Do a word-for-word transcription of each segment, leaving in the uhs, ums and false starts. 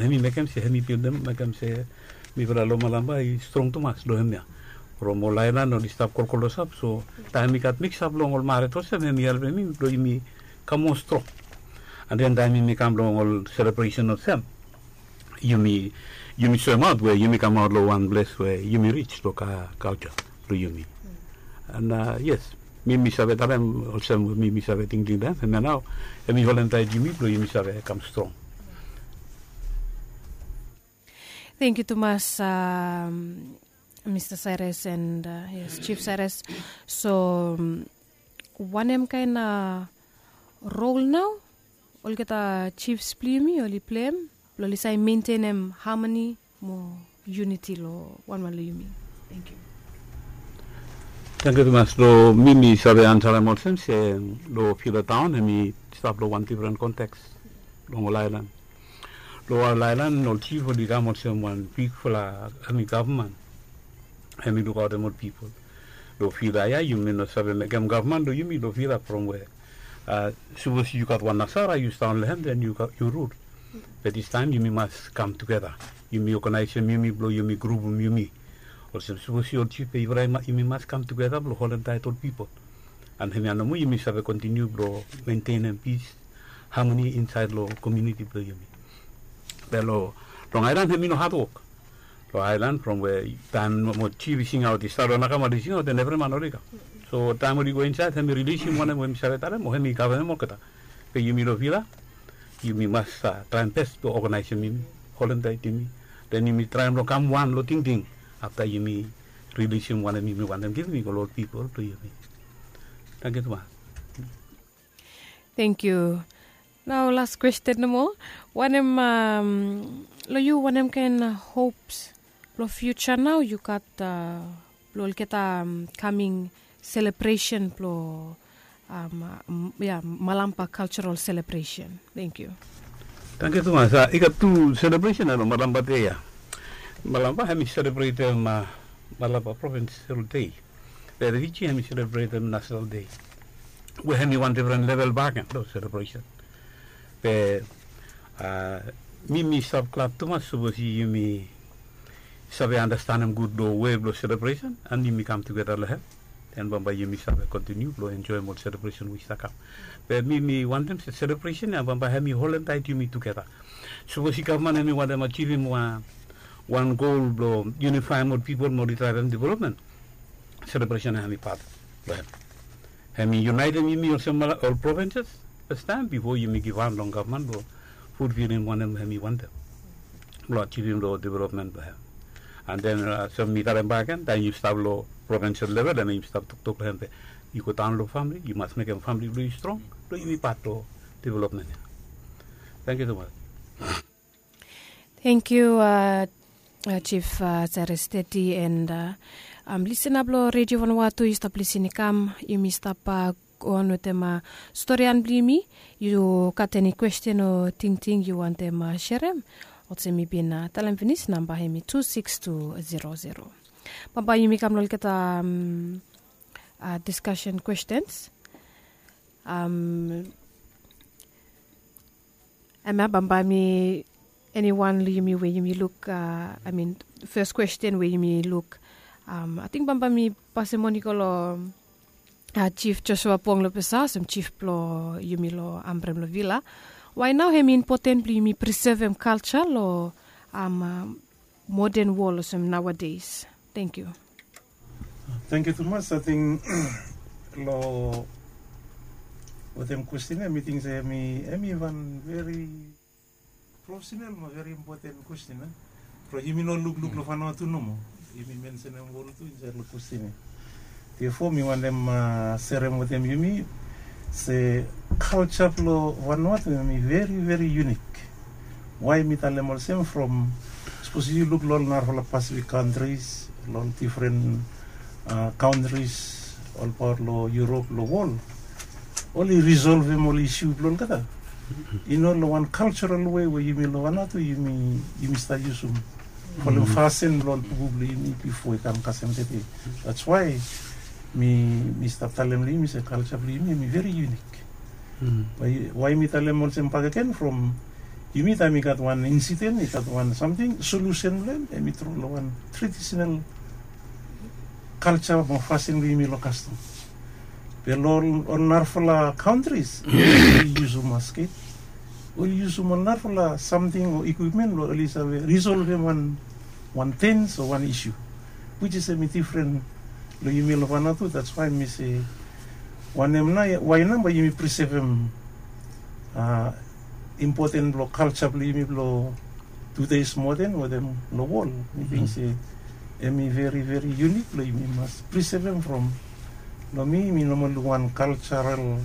Hemi mekem se hemi bildim mekem se mifala long Malampa i strong tumas long hemia. From ol aelan oli stap kolkol olsap, so taem i gat miksap long ol maret olsem, hemi helpem mi blong yumi kam moa strong. And then taem yumi kam long ol selebresen olsem, yumi yumi soemaot we yumi kamaot long wan ples we yumi rij long culture blong yumi. And yes, mi mi save talem olsem, mi mi save tingting taem hemia nao, hemi holem taet yumi blong yumi save kam strong. Thank you tumas, um, Mr. Cyrus and, uh, yes, Chief Cyrus. So, um, wanem kaen uh, rol nao olgeta chiefs blong yumi oli pleim blong oli save mentenem harmony mo unity long wanwan long yumi? Thank you. Thank you tumas. Long mi mi save ansarem olsem se long Fila taon hemi stap long wan difren konteks long ol aelan. Long ol aelan ol chief oli kam olsem wan bigfala hemi gavman hemi lukaotem ol pipol. Long Fila ya yumi no save mekem gavman long yumi long Fila from we sapos yu gat wan nasara yu staon long hem den yu rul. Be distaem yumi mas kam tugeta. Yumi oganaesem yumi blong yumi grupum yumi. Olsem sapos yu ol chief be yufala yumi mas kam tugeta blong holem taet ol pipol. And hemia nomo yumi save kontiniu blong mentenem pis, harmony insaed long komuniti blong yumi. Be long aelan hemi no hatwok. Long aelan from we taem mo chief i singaot, i stap long nakamal i singaot, den evriman oli kam. So taem oli go insaed hemi rilisim wanem we mi save talem o hemi kaverem olgeta. Be yumi long Fila yumi mas traem bes blong oganaesem yumi, holem taet yumi, den yumi traem long kam wan long tingting afta yumi rilisim wanem yumi wantem givim i go long ol pipol blong yumi. Tangkiu tumas. Thank you. Nao las kwesten nomo. Wanem, long yu wanem kaen hops blong fiuja nao yu gat blong olgeta kaming selebresen blong Malampa Cultural Celebration? Thank you. Tangkiu tumas. I gat tu selebresen ya long Malampa Dei ya. Malampa hemi selebretem Malampa Provincial Day. Be Fiji hemi selebretem National Day we hemi wan difren level bakegen long selebresen. Be mi mi stap glad tumas sapos yumi save anastenem gud long we blong selebresen and yumi kam tugeta long hem. Den bambae yumi save kontiniu blong enjoem ol selebresen we i stap kam. Be mi mi wantem se selebresen ya bambae hemi holem taet yumi tugeta. Sapos i gavman hemi wantem ajivim wan gol blong yunifaem ol pipol mo oli draevem developmen, selebresen ya hemi pat blong hem. Hemi yunaetem yumi olsem ol provinses fastaem bifo yumi givhan long gavman blong fulfilim wanem hemi wantem blong ajivim long developmen blong hem. And then olsem mi talem bakegen, taem yu stap long provinsel level hemi stap toktok long hem be yu go daon long famili, yu mas mekem famili blong yu strong blong yumi pat long developmen ya. Tangkiu tumas. Thank you, Chief Cyrus Teti, and lisena blong Redio Vanuatu, yu stap lisin i kam, yumi stap go on wetem storian blong yumi. Yu gat eni kwesten o tingting yu wantem serem, olsem mi bin talem finis, namba hemi tu sikis tu zero zero. Bambae yumi kam long olgeta diskasen kwestens. Hemia bambae mi, eniwan long yumi we yumi luk, I mean, fes kwesten we yumi luk, ating bambae mi pasem moni go long Chief Joshua Pong long Pesa olsem chief blong yumi long Ambrem long Vila. Wai nao hemi impoten blong yumi prisevem kalja long moden wol olsem naoades? Tangkiu. Tangkiu tumas. Ating long wetem kwesten ya mi ting se hemi wan veri profesenal mo veri impoten kwesten ya. From yumi no lukluk long Vanuatu nomo, yumi mensenem wol tu insaed long kwesten ya. Therefore mi wantem serem wetem yumi se kalja blong Vanuatu hemi veri veri yunik. Wai mi talem olsem, from sapos yu luk long ol narafala Pasifik kantris, long ol difren kantris olbaot long Europe, long wol, oli risolvem ol isu blong olgeta i no long wan kaljaral wei we yumi long Vanuatu yumi stap yusum folem fasin blong ol pupu blong yumi bifo i kam kasem tede. That's why mi stap talem long yumi se kalja blong yumi hemi veri yunik. Wai mi talem olsem bakegen, from Yumi taem i gat wan insiden, i gat wan samting, solusen blong hem em i tru long wan tradisional kalja mo fasin blong yumi long kastom. Be long ol narafala kantris oli yusum masket, oli yusum ol narafala samting o ikwipmen blong oli save risolvem wan wan tens o wan isu, wich is em i difren long yumi long Vanuatu. That's why mi se wanem na, wai nao bae yumi prisevem impoten blong kalja blong yumi blong tudes moden wetem long wol. Mi ting se em i veri veri yunik blong yumi mas prisevem from long mi mi nomol luk wan kaljaral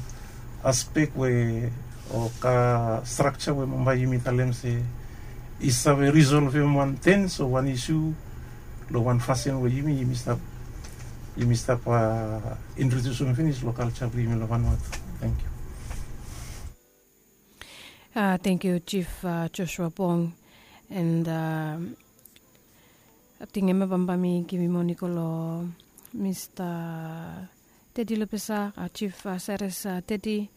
aspek we o ka strakja we bambae yumi talem se i save risolvem wan tens o wan isu long wan fasin we yumi yumi stap yumi stap introdusim finis long kalja blong yumi long Vanuatu. Thank you. Tengkiu Chief Joshua Bong. And ating hemia bambae mi givim on i go long Mista Tedi Lepesa, Chief Cyrus Tedi.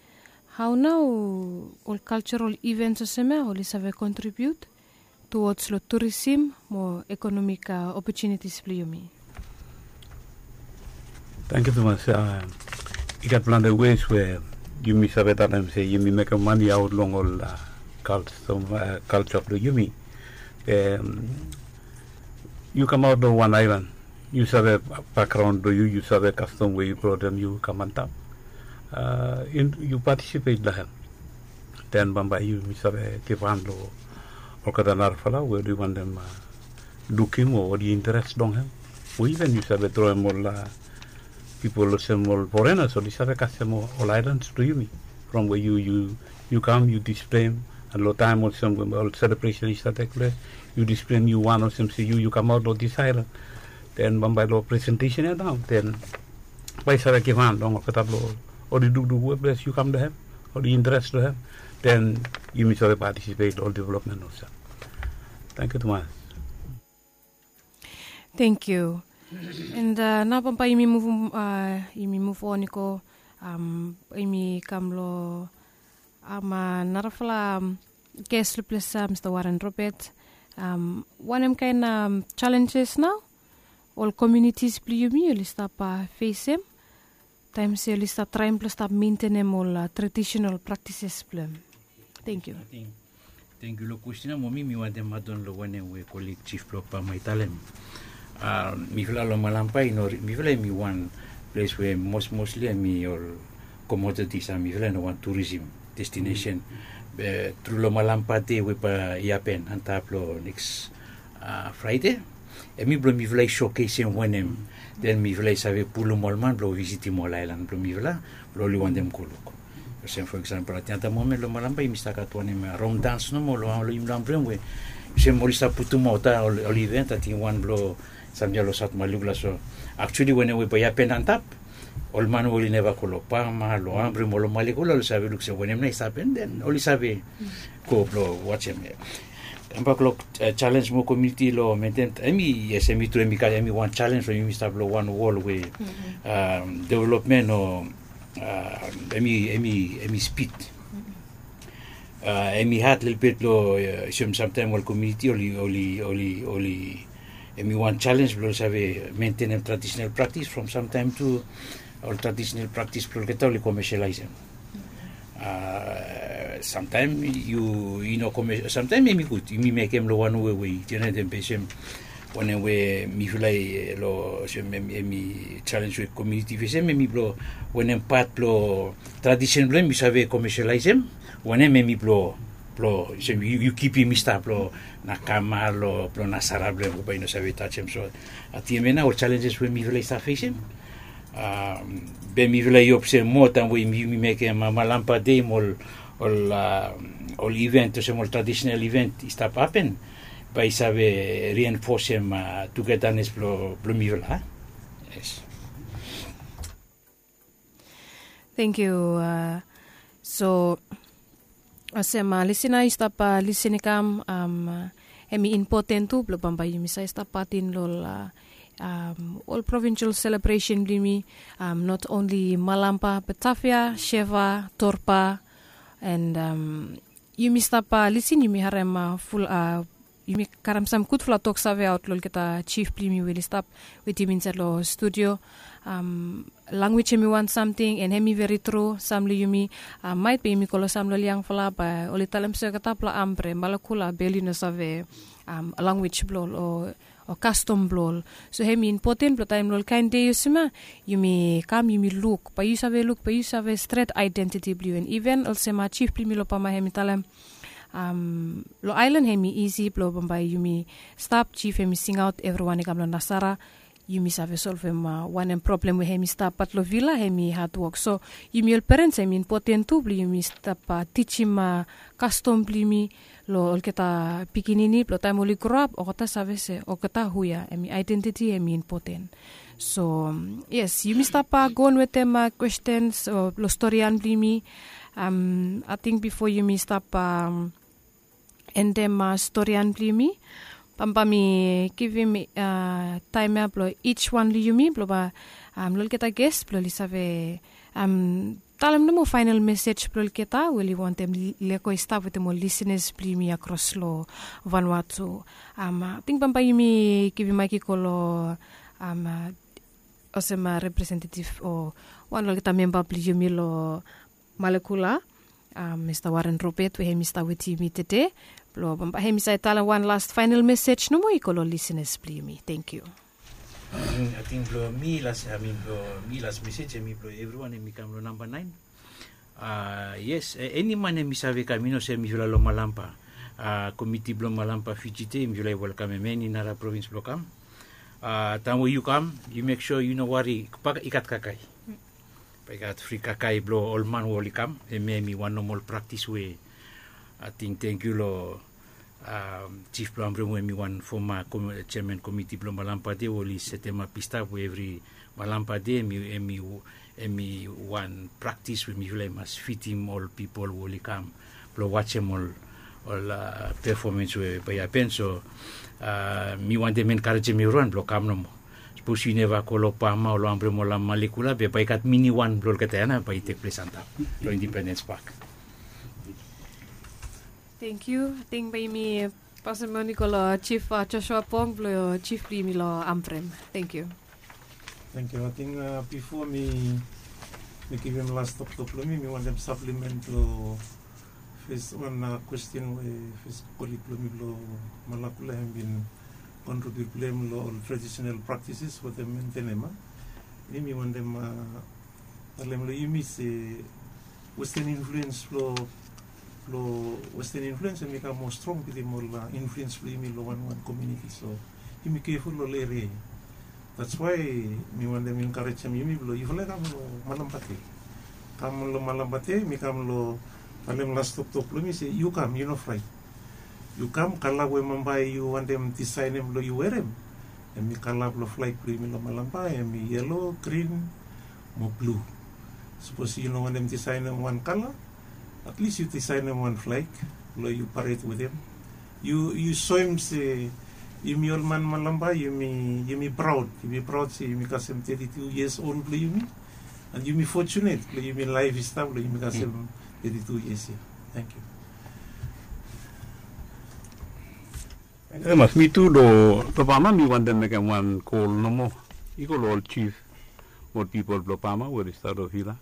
Hao nao ol cultural events olsem ya oli save contribute towards long tourism mo economic opportunities blong yumi? Tangkiu tumas. I gat plante ways we yumi save talem se yumi mekem mani aot long ol kalja blong yumi. Yu kamaot long wan aelan, yu save bakgraon blong yu, yu save kastom we yu brodem yu kam antap. Yu patisipet long hem. Den bambae yumi save givhan long olgeta narafala we oli wantem lukim o oli interes long hem. O iven yu save droem ol pipol olsem ol forenas oli save kasem ol aelans blong yumi from we yu yu yu kam yu displeim. Long taem olsem we ol selebresen i save tekples, yu displeim yu wan olsem se yu yu kamaot long dis aelan. Den bambae long presentesen ya nao den bae i save givhan long olgeta blong oli lukluk we ples yu kam long hem, oli interes long hem. Den yumi save patisipet long ol developmen olsem. Tangkiu tumas. Tengkiu. And nao bambae yumi muvum yumi muv on i go, yumi kam long narafala ges long ples ya, Mista Warren Robert. Wanem kaen jalenjes nao ol komiunitis blong yumi oli stap fesem taem se oli stap traem blong stap mentenem ol tradisenal praktises blong hem? Tengkiu. Tengkiu. Long kwestin ya mo mi mi wantem adon long wanem we kolik jif blong pama i talem. Mifala long malampa i no mifala em i wan ples we mosmosli em i ol komoditis a mifala i no wan turisim destinesen. Be tru long malampa de we bae i hapen antap long neks fraide, em i blong mifala i sokesim wanem den mifala i save pulum ol man blong visitim ol aelan blong mifala blong oli wantem go luk. Olsem fo eksampol ating ata momen long malampa yumi stap gat wanem, rom dans nomo long wan long yumi long ambrem we olsem oli stap putumaot a ol iven ating wan blong samting ya long saut maluk la so. Aktuali wanem we bae i hapen antap, ol man we oli neva go long pama long ambrem o long malek oli save luk se wanem nao i stap apen den oli save go blong wajem. Kambak long jalens mo komiuniti long mentem em i yes em i tru em i gat em i wan jalens long yumi stap long wan wol we developmen o em i em i em i spid. Em i had lelebet long olsem samtaem ol komiuniti oli oli oli oli em i wan jalens blong oli save mentenem tradisenal praktis from samtaem tu ol tradisenal praktis blong olgeta oli komesialaesem. Samtaem yu i no komes samtaem em i gud yumi mekem long wan we we i jeneretem besem wanem we mifala i long olsem em i jalens we komiuniti fesem em i blong wanem pat blong tradisen blong em yu save komesialaesem wanem em i blong blong olsem yu kipim i stap long na kama long blong na sara blong em we bae i no save tajem so ating em ya nao ol jalenjes we mifala i stap fesem. Be mifala i hop se moa taem we yumi mekem malampa dei mo ol ol iven olsem ol tradisenal iven i stap hapen bae i save rienfosem tugedanes blong mifala. Tengkiu. So olsem lisina i stap lisin i kam, em i impoten tu blong bambae yumi save stap patin long ol provinsel selebresen blong yumi, not onli malampa, batavia, sheva, torpa, and yumi stap lisin, yumi harem ful, yumi karem sam gudfala tok save aot long olgeta jif blong yumi we oli stap wetem yumi insaed long studio. Lanwis hem i wan samting, en hem i veri tru. Sam long yumi, maet be yumi go long sam long ol yangfala, bae oli talem se olgeta blong ambre malakula be oli no save lanwis blong ol o kastom blong ol. So hem i impoten blong taem long ol kaen dei olsem ya, yumi kam yumi luk, bae yu save luk, bae yu save stret aedentiti blong yu. En iven olsem jif blong yumi long Bama hem i talem, long aelan hem i isi blong bambae yumi stap, jif hem i singaot evriwan i kam long nasara, yumi save solvem wanem problem we hem i stap. Bat long vila hem i hadwok. So yumi ol perens hem i impoten tu blong yumi stap tijim kastom blong yumi long olgeta pikinini blong taem oli groap olgeta save se olgeta hu ya, hem i aedentiti hem i impoten. So yes, yumi stap goen wetem kwestens long storian blong yumi. Ating bifo yumi stap endem storian blong yumi, bambae mi givim taem ya blong ij wan long yumi blong bae long olgeta ges blong oli save talem nomo faenol mesej blong olgeta we oli wantem lego i stap wetem ol lisenas blong yumi akros long Vanuatu. Ating bambae yumi givim maek i go long olsem representetiv o wan long olgeta memba blong yumi long Malekula, Mista Waren Robet we hem i stap wetem yumi tede, blong bambae hem i save talem wan las faenol mesej nomo i go long lisenas blong yumi. Tenkyu. Ating blong mi las, amin blong mi las mesej hem i blong evriwan hem i kam long namba naen. Yes, eni man hem i save kam, i no se mifala long Malampa komiti blong Malampa Fiji de mifala i welkamem eni nara provins blong kam. Taem we yu kam, yu mek sua yu no wari, bae i gat kakae. Bae i gat fri kakae blong ol man we oli kam. Hemia hem i wan nomol praktis we ating tenkyu long jif blong Ambrem we hem i wan foma jeaman komiti blong Malampa de we oli setemap i stap we evri Malampa de hem i, hem i, hem i wan praktis we mifala i mas fitim ol pipol we oli kam blong wajem ol, ol pefomens we bae i hapen. So mi wantem enkarejem evriwan blong kam nomo. Sapos yu neva go long Bama o long Ambrem o long Malekula be bae i gat mini wan blong olgeta ya nao bae i tekples antap long Indipendens Pak. Tenkyu. Ating bae yumi pasem moni go long Jif Joshua Pong blong jif blong yumi long Ambrem. Tenkyu. Tenkyu. Ating bifo mi givim las toktok blong mi, mi wantem saplimen long fes wan kwesten we fes kolig blong mi blong Malakula hem bin kontribiut blong hem long ol tradisonal praktises wetem mentenem. Mi mi wantem talem long yumi se westen influens blong, blong westen influens hem i kam moa strong bitim ol influens blong yumi long wanwan komuniti. So yumi keful long ol eria ya. That's why mi wantem enkarejem yumi blong yufala i kam long Malampa de. Kam long Malampa de, mi kam long talem las toktok blong mi se yu kam, yu no fraet. Yu kam, kala we bambae yu wantem disaenem blong yu werem, hem i kala blong flag blong yumi long Malampa, hem i yelo, grin mo blu. Sapos yu no wantem disaenem wan kala, atlis yu disaenem wan flag blong yu paret wetem. Yu, yu soem se yumi ol man Malampa yumi, yumi praod, yumi praod se yumi kasem teti tu yias ol blong yumi. An yumi fojunet blong yumi laef i stap blong yumi kasem teti tu yias ya. Tenkyu. Mas mi tu long Bama mi wantem mekem wan kol nomo. I go long ol jif mo ol pipol blong Bama we oli stap long vila.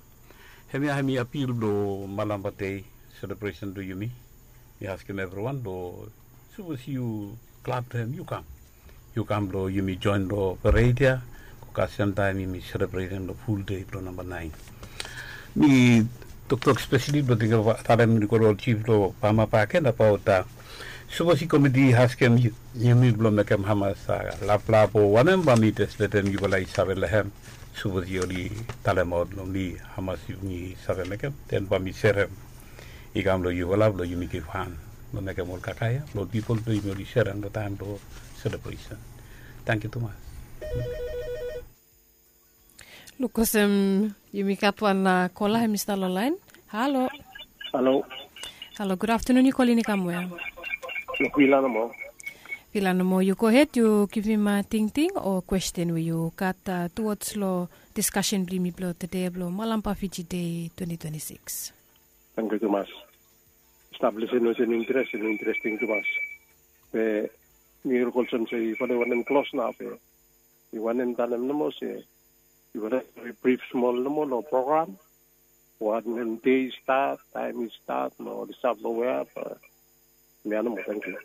Hemia hem i apil blong Malampa Dei selebresen blong yumi. Mi askem evriwan blong sapos yu glad blong hem yu kam. Yu kam blong yumi joen long pared ya. Go kasem taem yumi selebretem long ful dei blong namba naen. Mi toktok spesali blong ting talem i go long ol jif blong Bama bakegen abaot sapos i komiti i askem yumi blong mekem hamas laplap o wanem, bae mi jes letem yufala i save long hem. Sapos oli talemaot long mi hamas yumi save mekem, den bae mi serem i kam long yufala blong yumi givhan blong mekem ol kakae ya blong ol pipol blong yumi oli serem long taem blong selebresen. Tangkiu tumas. Luk olsem yumi gat wan kola hem i stap long laen. Halo. Halo. Halo, gud aftanun. Yu kolin i kam we? Vila nomo. Vila nomo. Yu gohed, yu givim tingting o kwesten we yu gat tuwoj long diskasen blong yumi blong tede blong Malampa Fiji Dei twenti twenti sikis. Tangkiu tumas. stap lisen olsem interes, interesting tumas. Be mi luk olsem se i fale wanem klos nao be i wanem talem nomo se i wanem brif smol nomo long program. Wanem dei i stat, taem i stat, no ol i stap long wea. Be mi ya nomo, tangkiu.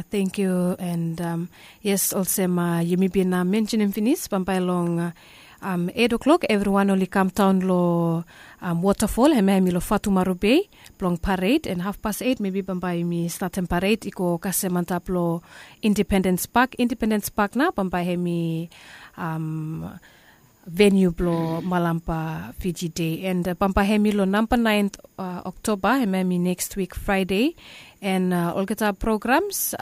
Thank you. And yes, olsem yumi bin mentionem finis, bambae long eit o'clock evriwan oli kam daon long waterfall, hemia hemi long Fatumaru Bay, blong parade. And hafpas eit mebi bambae yumi statem parade i go kasem antap long Independence Park. Independence Park nao bambae hemi venue blong Malampa Fiji Day. And bambae hemi long namba naen Oktoba, hemia hemi next week Friday. And olgeta programs,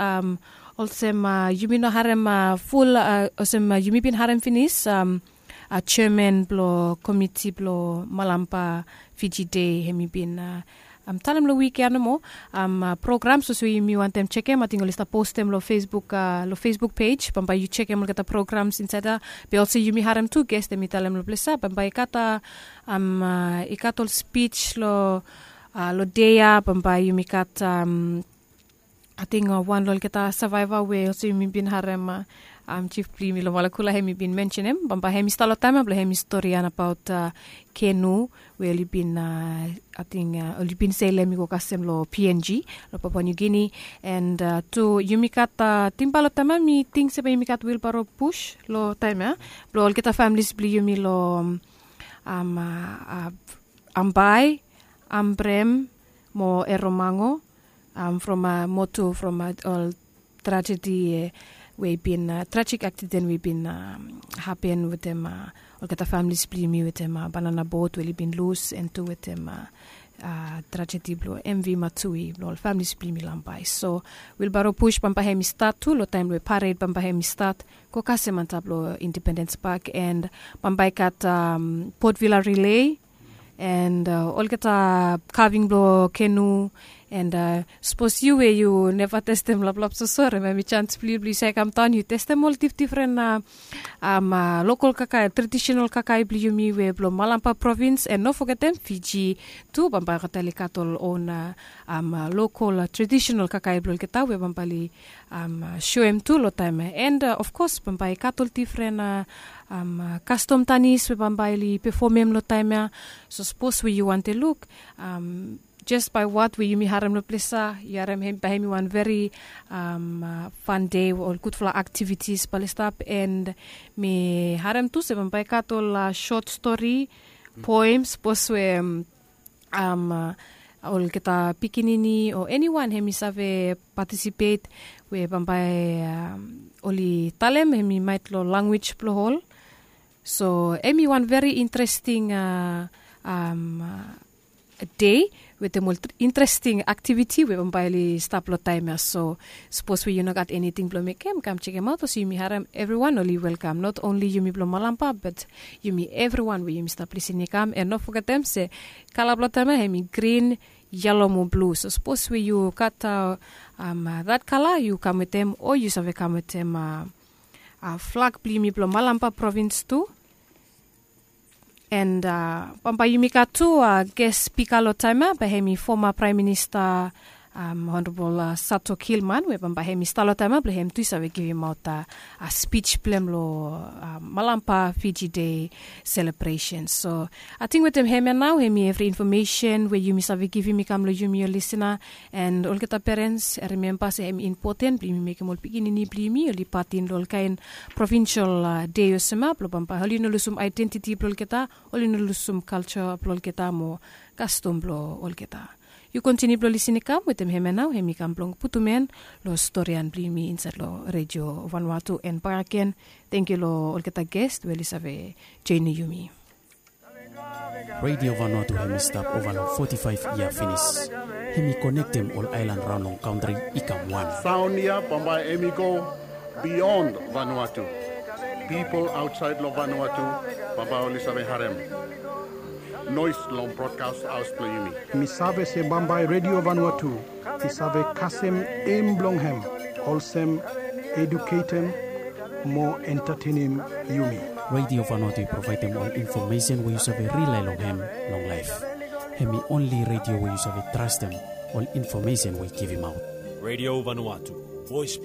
olsem yumi no harem ful, olsem yumi bin harem finis, jeman blong komiti blong Malampa Fiji Day hemi bin talem long wik ya nomo. Programs olsem we yumi wantem jekem, ating oli stap postem long Facebook, long Facebook pej, bambae yu jekem olgeta programs insaed ya. Be olsem yumi harem tu ges hemi talem long ples ya bambae i gat, i gat ol spij long dei ya, bambae yumi gat ating wan long olgeta savaeva we olsem yumi bin harem, jif blong yumi long Malakula hemi bin mensenem, bambae hemi stap long taem ya blong hemi storian abaot kenu we oli bin, ating oli bin selem i go kasem long PNG, long Papua New Guinea. And tu yumi gat, ating bae long taem ya mi ting se bae yumi gat wilbaro push long taem ya blong olgeta familis blong yumi long Ambae, Ambrem mo Eromango, from motu from ol trajedi we i bin, trajik aksiden we i bin hapen wetem olgeta familis blong yumi wetem banana bot we oli bin lus, and tu wetem trajedi blong MV Matsui blong ol familis blong yumi long Ambae. So wilbaro push bambae hemi stat tu long taem we pared bambae hemi stat go kasem antap long Independence Park. And bambae i gat Port Vila relay and olgeta kaving blong kenu. And sapos yu we yu neva testem laplap sosore, hemia hemi jans blong yu blong yu save kam daon yu testem ol difdifren lokol kakae, tradisenal kakae blong yumi we blong Malampa provins. And no fogetem Fiji tu bambae olgeta oli gat ol on lokol tradisenal kakae blong olgeta we bambae oli soem tu long taem ya. And ofkos bambae i gat ol difren kastom tanis we bambae oli pefomem long taem ya. So sapos we yu wantem luk, jes bae wat we yumi harem long ples ya, yu harem bae hemi wan veri fan dei we ol gudfala aktivitis bae oli stap. And mi harem tu se bambae i gat ol sot stori, poem, sapos we olgeta pikinini o eniwan hemi save patisipet we bambae oli talem hemi maet long lanwis blong ol. So hemi wan veri interesting dei wetem ol interesting aktiviti we bambae oli stap long taem ya. So sapos we yu no gat eniting blong mekem, kam jekemaot olsem yumi harem evriwan oli welkam, not onli yumi blong Malampa but yumi evriwan we yumi stap lisin i kam. And no fogetem se kala blong taem ya hemi grin, yelo mo blu. So sapos we yu gat dat kala, yu kam wetem o yu save kam wetem flag blong yumi blong Malampa provins tu. And bambae yumi gat tu ges spika long taem ya bae hemi foma Praem Minista Honorabol Sato Gilman we bambae hemi stap long taem ya blong hem tu i save givimaot spij blong hem long Malampa Fiji Dei selebresen. So ating wetem hemia nao hemi evri infomesen we yumi save givim i kam long yumi ol lisina. And olgeta perens, rimemba se hemi impoten blong yumi mekem ol pikinini blong yumi oli pat in long ol kaen provinsel dei olsem ya blong bambae oli no lusum aedentiti blong olgeta, oli no lusum kalja blong olgeta mo kastom blong olgeta. Yu kontiniu blong lisin i kam wetem hemia nao hemi kam blong putum en long storian blong yumi insaed long Redio Vanuatu. And bakegen, tangkiu long olgeta ges we oli save joenem yumi. Redio Vanuatu hemi stap ova long foti faef yia finis. Hemi konektem ol aelan raon long kantri i kam wan. Saon ya bambae hemi go bion Vanuatu. Pipol aotsaed long Vanuatu bambae oli save harem noes long brodkas haos blong yumi. Mi save se bambae Redio Vanuatu i save kasem em blong hem olsem eduketem mo entatenem yumi. Radio Vanuatu i provaedem ol infomesen we yu save rila long hem long laef. Hem i onli radio we yu save trastem ol infomesen we i givimaot. Radio Vanuatu, voice